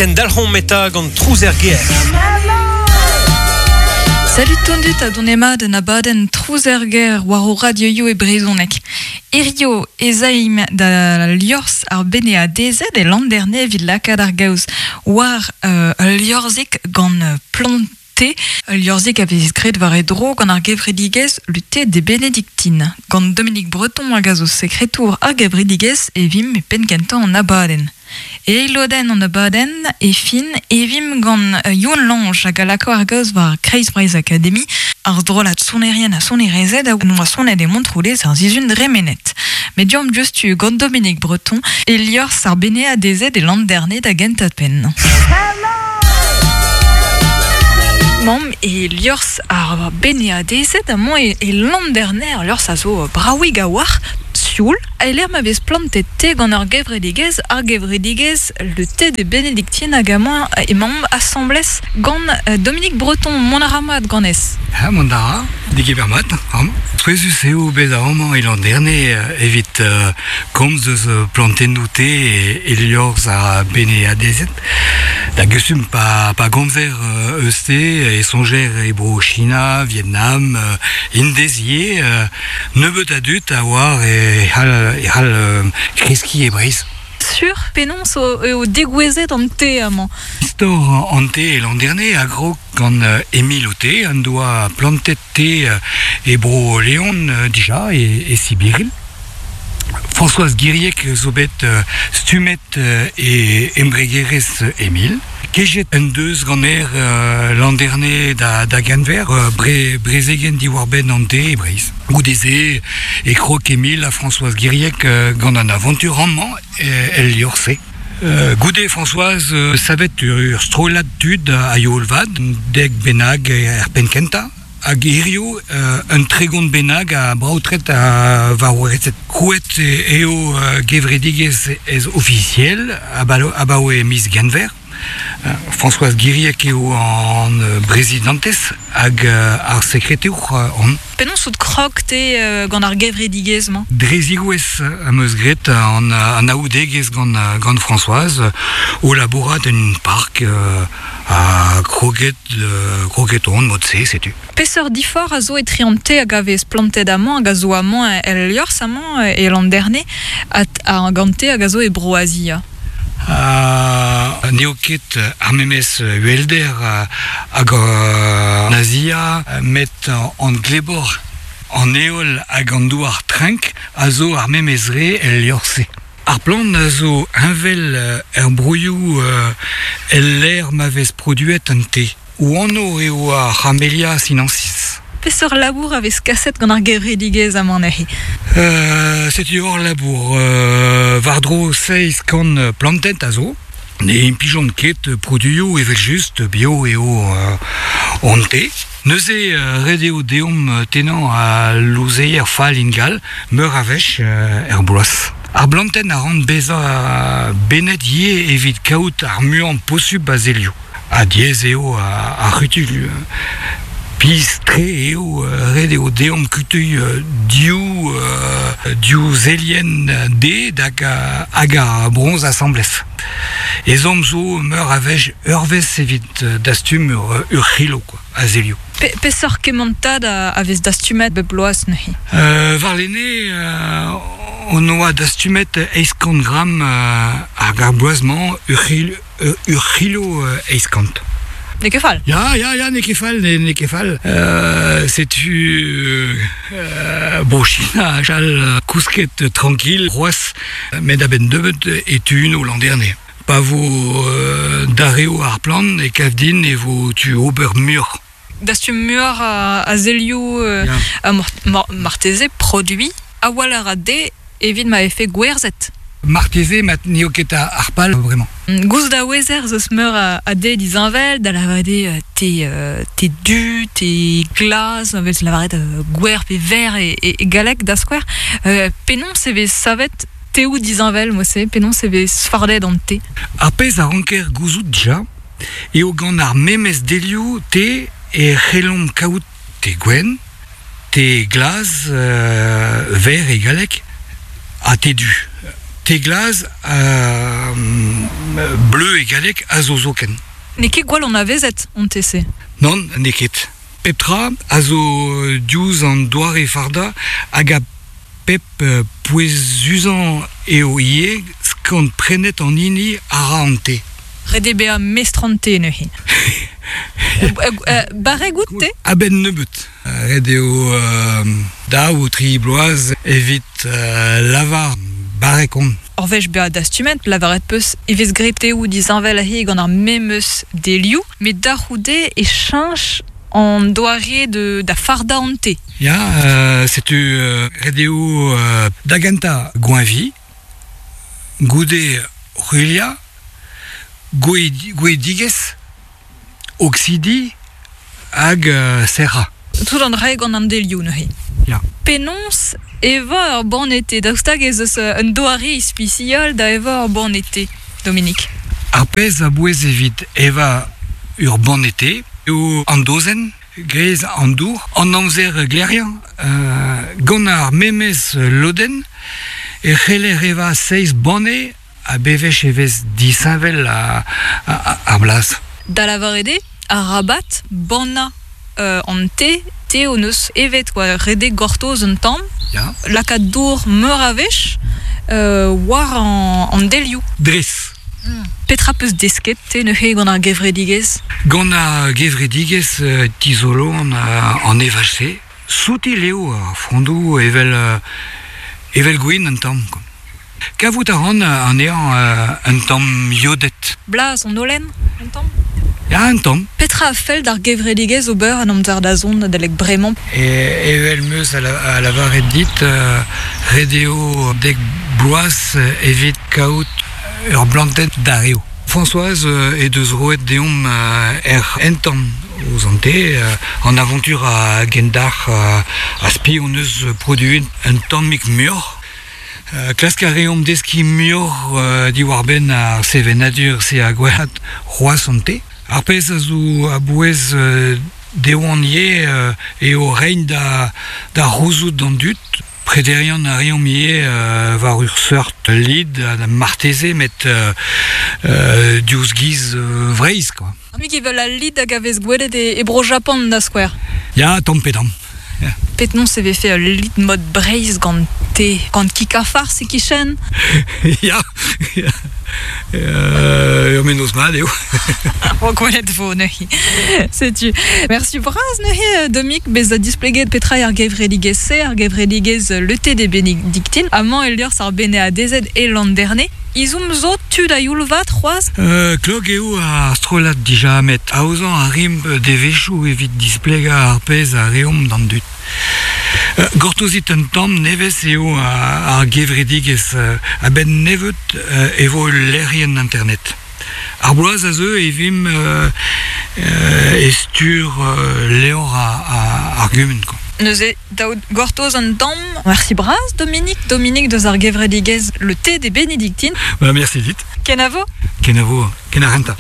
Kendalc'homp eta gant Trouz er gêr. Salut tondut ha donemat un abadenn Trouz er gêr war ho radioioù e brezhoneg. Hirio ez aimp da liorzh ar Beneadezed e Landerne evit lakaat ar gaoz war ul liorzhig gant plant Te, ul liorzhig a vez graet war e dro gant ar gevredigezh Le Thé des Bénédictines. Gant Dominique Breton hag a zo sekretour ar gevredigezh e vimp e penn-kentañ an abadenn. E eil lodenn an abadenn, e fin, e vimp gant Youn Lange hag a lako ar gaoz war Kreiz Breizh Akademi, ar strollad sonerien ha sonerezed a oa sonet e Montroulez ar sizhun dremenet. Met deomp diouzhtu gant Dominique Breton e liorzh ar Beneadezed e Landerne da gentañ-penn. Mamm e liorzh ar Beneadezed amañ e Landerne, ur liorzh a zo bravig a-walc'h, sioul, e-lec'h ma vez plantet te gant ur gevredigezh, ar gevredigezh Le Thé des Bénédictines hag amañ emaomp asambles gant Dominique Breton. Mont a ra mat ganez? Ha mont a ra, degemer mat amañ. Souezhus eo bezañ amañ e Landerne evit komz eus plantennoù te e liorzh ar Beneadezed. Da gustum pa, pa gomzer eus te e soñjer e bro China, Vietnam, Indez ivez. Nebeut a dud a oar e c'hall, e c'hall kreskiñ e Breizh. Sur penaos eo degouezhet an te amañ? Istor an te e Landerne a grog gant Emile Oté en doa plantet te e bro Leon dija e, e Sibiril. Françoise Guiriec zo bet stummet e embregerezh Emile. Kejet en deus ganer Landerne da, da Genver, bre, brezegenn diwar-benn an te e Breizh. Goude-se e krog Emile ha Françoise Guiriec gant an avantur amañ el liorzh-se. Goude Françoise savet ur strollad tud a-youl vat, dek bennak er penn-kentañ, hag hiziv un 30 bennak a braotred a vaouezed. Krouet eo gevredigezh ez ofisiel abaoe miz Genver. Françoise Guiriec eo an brezidantez hag ar sekretour on. Penaos out krog te gant ar gevredigezh-mañ? Dre zigouezh am eus graet an anaoudegezh gant, gant Françoise o labourat en un park ha kroget, kroget on mod-se, setu. Peseurt diforc'h a zo etre an te hag a vez plantet amañ hag a zo amañ el liorzh amañ e Landerne hag an te hag a zo e Bro-Azia? N'eo ket ar memes uhelder hag an Azia, met an glebor, an heol hag an douar trenk a zo ar memes re el liorzh-se. Ar plant a zo heñvel er broioù el lec'h ma vez produet an te. O anv eo ar Camellia sinensis. Peseurt labour a vez kaset gant ar gevredigezh amañ neuze? Setu hor labour. War-dro 700 plantenn a zo. Ne implijont ket produioù evel-just, bio eo hon te. Neuze ret eo deomp tennañ al louzeier fall ingal meur a wech er bloaz. Ar blantenn a rank bezañ benet ivez evit kaout ar muiañ posupl a zelioù. Ha diaes eo ar c'hutuilh. Pizh-tre eo, ret eo deomp kutuilh div, div zelienn dezhe hag, hag ar broñs asambles. Ezhomm zo meur a wech eurvezh evit dastum ur, ur c'hilo quoi, a zelioù. Pe, peseurt kementad a, a vez dastumet bep bloaz neuze? Warlene hon oa dastumet 800 gramm hag ar bloaz-mañ ur c'hilo ur c'hilo 800. N'eo ket fall. Ya, ya, ya, n'eo ket fall, n'eo ket fall. Setu bon, China a chal kousket tranquille c'hoazh, met a-benn nebeut e tuno Landerne. Pa vo darev ar plant e kav din e vo tu ober muioc'h. Dastum muioc'h a zelioù ha marteze produiñ a-walc'h a de evit ma vefe gwerzhet. Marteze mat n'eo ket ar pal bremañ. Gouzout a ouezer ez eus meur a de disheñvel, da lavaret eo te, te du, te glas, a vez lavaret gwer pe ver e, e galleg da skouer. Penaos e vez savet teoù disheñvel mod-se? Penaos e vez fardet an te? Ar pezh a ranker gouzout dija eo gant ar memes delioù te e c'hellomp kaout te gwenn, te glas, ver e galleg, ha te du. Te glas Bleu e galleg a zo zoken. N'eo ket gwall anavezet an te-se. Nann, n'eo ket. Pep tra a zo diouzh an doare fardañ hag a pep pouezusañ eo ivez skant-prenet an hini a ra an te. Ret eo bezañ mestr an te neuze. Barrek out te? A-benn nebeut. Ret eo daou tri bloaz evit lavar barrek on. Ur wech bezañ dastumet, lavaret 'peus e vez graet teoù disheñvel aze gant ar memes delioù, met da c'houde e cheñch an doare da fardañ an te. Ya, setu ret eo da gentañ goañviñ, goude ruilhañ, gouedigezh, oksidiñ hag serrañ. Tout an dra gant an delioù neuze. Ya. Penaos evañ ur banne te? Daoust hag ez eus un doare ispisial da evañ ur banne te, Dominique? Ar pezh a bouez evit evañ ur banne te eo an dozenn, grez an dour, an amzer gleriañ. Gant ar memes lodenn e c'heller evañ seizh banne Ha bewech e vez disheñvel ar blaz. Da lavaret eo, arabat bannañ an te, te hon eus evet kwa, redek gortoz un tamm, Ya. lakaat dour meur a wech war an delioù. Dres. Petra 'peus desket te neuze gant ar gevredigezh? Gant ar gevredigezh tizoloan an evaj-se. Soutil eo ar frondoù evel evel gwin un tamm. Kavout a ran anezhañ un tamm iodet. Blaz an holen, un tamm? Ya, un tamm. Petra a fell d'ar gevredigezh ober en amzer da zont adalek bremañ? Evel 'm eus a lavaret dit, ret eo dek bloaz evit kaout ur blantenn darev. Françoise he deus roet deomp hec'h entan ouzh an te, an avantur a gendalc'h a spi hon eus produet un tammig muioc'h. Klask a reomp deskiñ muioc'h diwar-benn ar sevenadur-se ha gwellaat c'hoazh an te. Ar pezh a zo a-bouez dezhañ ivez eo reiñ da c'houzout d'an dud. Prederian a reomp ivez war ur seurt lid marteze met diouzh giz Vreizh quoi. Mik evel al lid hag a vez gwelet e Bro-Japan da skouer. Ya, tamm pe damm. Penaos e vefe ul lid mod Breizh gant te, gant kig-ha-farz e-kichen? Ya, ur mennozh mat eo. Ro gwelet vo neuze. Setu. Merci bras neuze, Domik, bezañ displeget petra eo ar gevredigezh-se, ar gevredigezh Le Thé des Bénédictines. Amañ e liorzh ar Beneadezed e Landerne. Izhomm zo tud a-youl vat c'hoazh? Klok eo ar strollad dija met aozañ a rimp devezhioù evit displegañ ar pezh a reomp d'an dud. Gortozit un tamm nevez eo ar gevredigezh a-benn nebeut e vo ul lec'hienn internet. Ar bloaz a zeu e vimp e stur levr ar gumun. Neuze, daout gortoz un tamm. Merci bras, Dominique. Dominique deus ar gevredigezh Le Thé des Bénédictines. Bah, merci dit. Kenavo. Kenavo, kenarenta.